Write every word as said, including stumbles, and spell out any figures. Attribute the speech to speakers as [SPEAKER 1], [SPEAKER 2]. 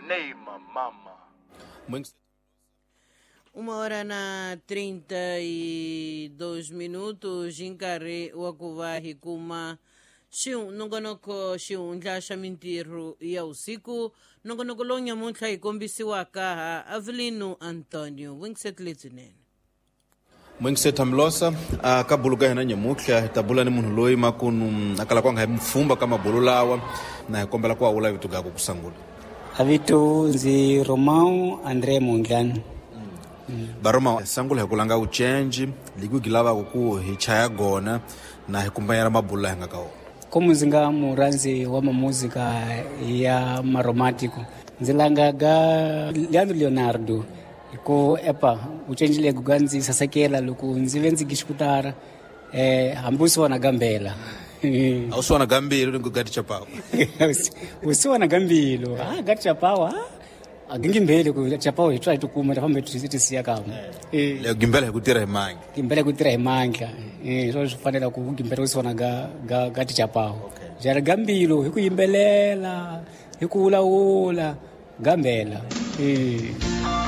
[SPEAKER 1] Neima mama.
[SPEAKER 2] Uma hora na trinta e dois minutos, nkarhi wa ku va hi kuma xi- nongonoko xihundla xa mintirho ya vusiku, nongonoko lowu nyamuntlha hi kombisiwaka ha Avelino Antonio. Winset lebyinene.
[SPEAKER 3] Mwingiseta Mlosa a ka bulu ka hina nyamutlha hi ta bula ni munhu loyi makunu a kala ku nga hi mfumba ka mabulu lawa, na hi kombela ku awula vito gaku ku sungula.
[SPEAKER 4] Avito ndzi Romão André Mondlane.
[SPEAKER 3] Baroma sangula hi ku langa ucenji liku gi lavaka ku hi chaya gona na hi kumbanyela mabulu laha hi nga ka wona.
[SPEAKER 4] Como ndzi nga murhandzi wa mamuzika ya maromantiko, ndzi langa ga Leandro Leonardo hi ku epa ucenji legu ga ndzi sasekela loko ndzi ve ndzi gixikutara eh hambi u siwana gambela.
[SPEAKER 3] A wu siwana gambilo ni ku gati chapawa.
[SPEAKER 4] U siwana gambilo ah gati chapawa a gingimbele ku chapawa hi twa hi tikuma ta fambe ti siya kamwe. Eh.
[SPEAKER 3] Leyo gimbela hi ku tirha hi mangi.
[SPEAKER 4] Gimbela ku tirha hi mandla, eh swo swi fanela ku gimbela u siwana ga ga gati chapawa jara gambilo hi ku yimbelela hi ku wulawula gambela eh.